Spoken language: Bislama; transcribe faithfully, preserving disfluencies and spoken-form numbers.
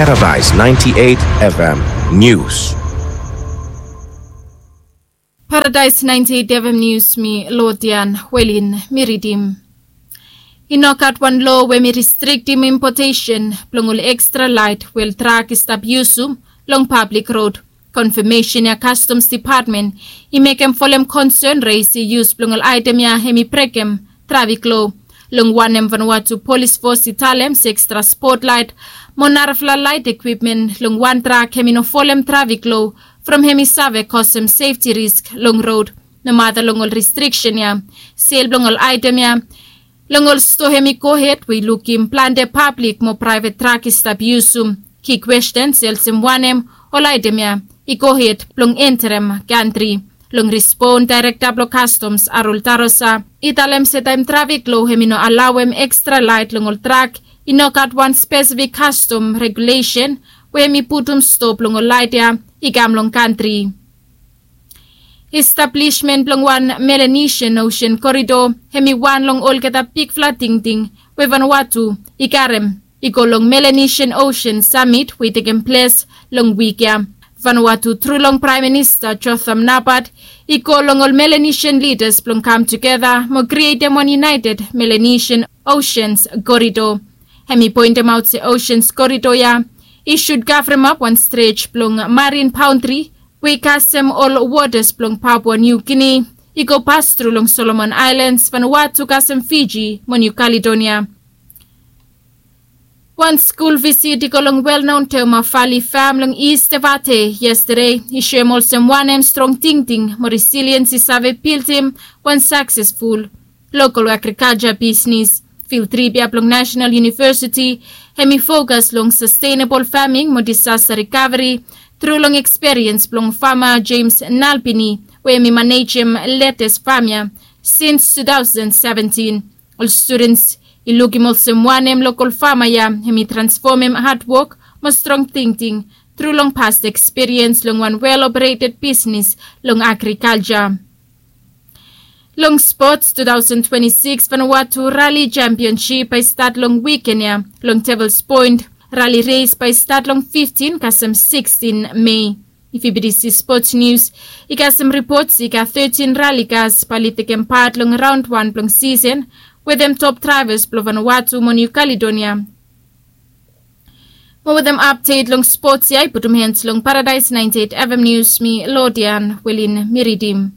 Paradise ninety-eight F M News. Paradise ninety-eight F M News, mi Lodian Welin mi ridim. I no gat wan lo we mi restriktim impotesen blong ol ekstra laet we ol trak i stap yusum long pablik rod. Konfamesen ya Customs Depatmen i mekem folem konsen res i yus blong ol aetem ya hem i brekem trafik lo. Long wanem Vanuatu Polis Fos i talem se ekstra spotlaet mo narafala laet ekwipmen long wan trak hem i no folem trafik lo from hem i save kosem sefti risk long rod. Nomata long ol restriksen ya, sel blong ol aetem ya long ol stoa hem i gohed we i lukim plante pablik mo praevet trak i stap yusum. Ki kwesten se olsem wanem ol aetem ya i gohed blong enterem kantri. Long rispon daerekta blong Kastoms Arul Tarosa i talem se taem trafik lo hem i no alaoem ekstra laet long ol trak, i no gat wan spesifik kastom regulesen we hem i putum stop long ol laet ya i kam long kantri. Establismen blong wan Melanesian Osen Korido hem i wan long olgeta bigfala tingting we Vanuatu i karem i go long Melanesian Osen Samit we i tekem ples long wik ya. Vanuatu tru long Praem Minista Jotham Napat i go long ol Melanesian lidas blong kam tugeta mo krietem wan United Melanesian Oceans Korido. Hem i poentemaot se Oceans Korido ya i sud kavremap wan strej blong marin baontri we i kasem ol wotas blong Papua Niu Gini i go pas tru long Solomon Aelans, Vanuatu kasem Fiji mo Niu Kaledonia. Wan skul visit i go long welnaon Teoma Vali fam long East Evate yestade i soem olsem wanem strong tingting mo resiliens i save bildim wan saksesful lokol agrikalja bisnis. Fil trip ya blong Nasenal Univesiti hem i fokas long sastenabol faming mo disasta rikaveri tru long eksperiens blong fama Jems Nalbini we hem i manejem letes fam ya sins tu taosen seventin. Ol studens i lukim olsem wanem lokol fama ya hem i transfomem hadwok mo strong tingting tru long past eksperiens long wan wel opereted bisnis long agrikalja. Long spots, tu taosen twenti sikis Vanuatu Rali Jampionsip bae i stat long wiken ya long Devils Point. Rali res bae i stat long fiftin kasem sikstin Mei. If yu bin disi spots nius, i kasem ripot se i gat tetin rali kas bae oli tekem pat long raon wan blong sisen wetem top draevas blong Vanuatu mo Niu Kaledonia. Mo wetem apdet long spots ya i putum hens long Paradise ninety-eight F M Nius, mi Lodian Welin mi ridim.